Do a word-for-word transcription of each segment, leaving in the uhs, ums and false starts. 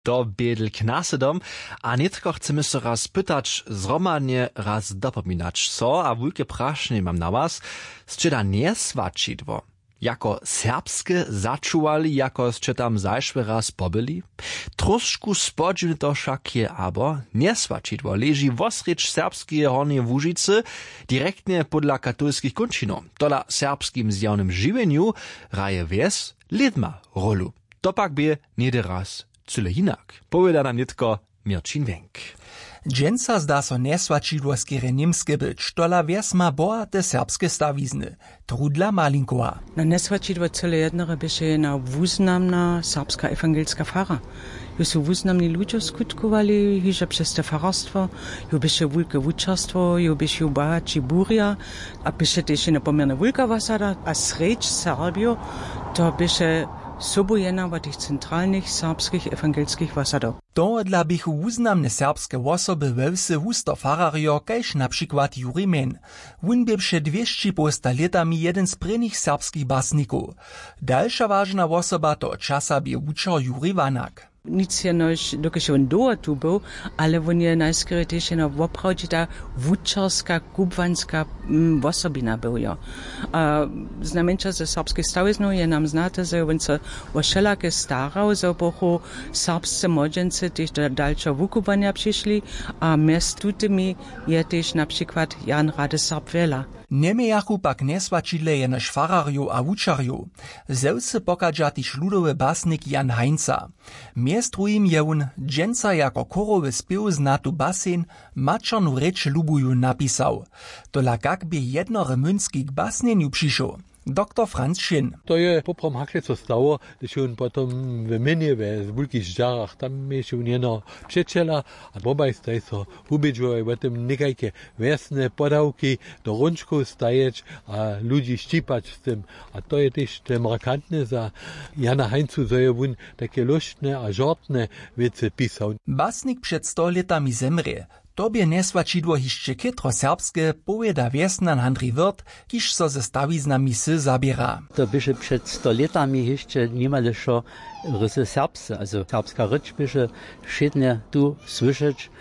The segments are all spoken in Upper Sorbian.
To bě dl k nasedom. A nětko chcemy so raz pytać zhromadnje, raz dopominać so a wulke prašenje mam na was. Sće da njeswaćidło jako serbske začuwali, jako sće tam zašły raz pobyli? Tróšku spodźiwne to wšak je, abo njeswaćidło leži wosrjedź serbskeje Hornjeje Łužicy, direktnje podla katolskich kónčinow. Tola w serbskim zjawnym žiwjenju hraje wjes lědma rólu. To pak bě něhdy raz cyle hinak, powěda nam nětko Měrćin Wenk. Dźensa zda so njeswaćidło skerje němske być, tola wjes ma bohate serbske stawizny. Trudla Malinkowa. Na njeswaćidło cyle jednore běše jedna wuznamna serbska ewangelska fara. Jo su wuznamni ludźo skutkowali hižo přez te fararstwo. Jo běše wulke wučerstwo, jo běše jo bohaći burja, a běše tež jedna poměrnje wulka wosada a srjedź Serbijo, to běše sobu jedna wot tych centralnych serbskich ewangelskich wosadow. Tohodla běchu wuznamne serbske wosoby we wsy husto fararjo, kaž na přikład Juri Mehn. Wón bě před dwěsći połsta lětami jedyn z prěnich serbskich basnikow. Dalša wažna wosoba toho časa bě wučer Juri Wanak. Nic jenož dokelž je wón dołho tu był, ale wón je najskerje tež jeno woprawdźita wučerska kubłanska, mm, wosobina był jo. A znajmjeńša ze serbskich stawiznow je nam znate, zo je wón so wo wšelake starał, zo buchu serbsce młodźency tež do dalšeho wukubłanja přišli. A mjez tutymi je tež na přikład Jan Rady Serb Wjela. Njemějachu pak njeswaćidle jenož fararjow a wučerjow. Ze wsy pochadźa tež ludowy basnik Jan Heinza. Mjez druhim je wón dźensa jako chórowy spěw znatu basen Maćernu rěč lubuju napisał. Tola kak bě jednore młynski k basnjenju přišoł? Doktor Franz Šin. To je poprawom hakle so stało, hdyž je wón potom w mjenje we wulkich žarach, tam měješe wón jeno přećela, a wobaj staj so wubědźowaj wo tym někajke wjesne podawki do hrónčkow stajeć a ludźi šćipać z tym. A to je tež te markantne za Jana Heinzu, zo je wón take lóštne a žortne wěcy pisał. Basnik před sto lětami zemrě. To bě njeswaćidło hišće chětro serbske, powěda wjesnjan Handrij Wirth, kiž so ze stawiznami wsy zaběra. To běše před sto lětami hišće nimale wšo rysy serbsce, also serbska rěč běše wšědnje tu słyšeć.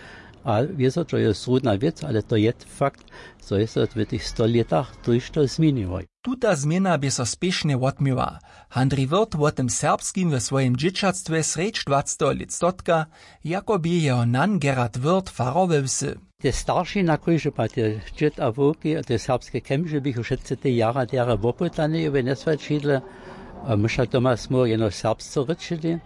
A wězo to je zrudna wěc, ale to je fakt, zo je so w tych sto lětach tójšto změniło. Tuta změna bě so spěšnje wotměła. Handrij Wirth wo tym serbskim we swojim dźěćatstwje srjedź dwaceteho lětstotka, jako bě jeho nan Gerhard Wirth farar we wsy. Te starši na kóždy pad, te dźěd a wowki a te serbske kemže běchu wšetcy te jara derje wopytani we njeswaćidle. A my wšak doma smy jenož serbsce rěčili,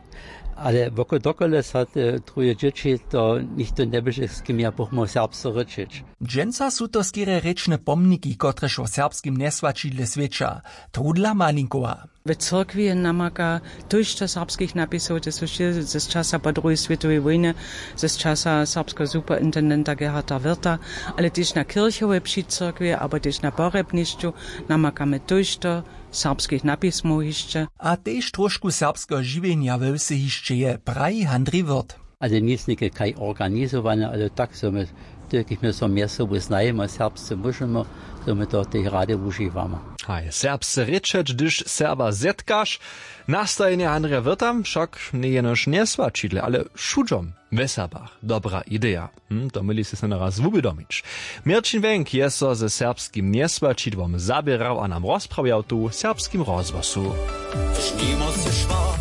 ale woko dokelž so te druhe dźěći, to nichtó njeběše, z kim ja buchmał serbsce rěčić. Dźensa su to skerje rěčne pomniki, kotrež wo serbskim njeswaćidle swědča. Trudla Malinkowa. W cyrkwi je namaka tójšto serbskich napisow, te su wšě z časa po druhej swětowej wójnje, z časa serbskeho superintendenta Gerharda Wirtha, ale tež na kirchowej při cyrkwi abo tež na porjebnišću namakamy tójšto serbskich napismow hišće. A tež tróšku serbskeho žiwjenja we wsy hišće je, praji Handrij Wirth. Ale nic něke kaj organizowane, ale tak zo my, tykich my so mjez sobu znajemy, serbsce móžemy, zo my to tej rady wužiwamy. Haj, serbsce rěčeć, hdyž Serba zetkaš. Nastajenje Handrija Wirtha wšak njeje jenož njeswaćidle, ale wšudźom we Serbach dobra ideja. Hm, to měli sy so naraz wubědomić. Měrćin Wenk je so ze serbskim njeswaćidłom zaběrał a nam rozprawjał tu w Serbskim rozhłosu. Žmimo se šwar.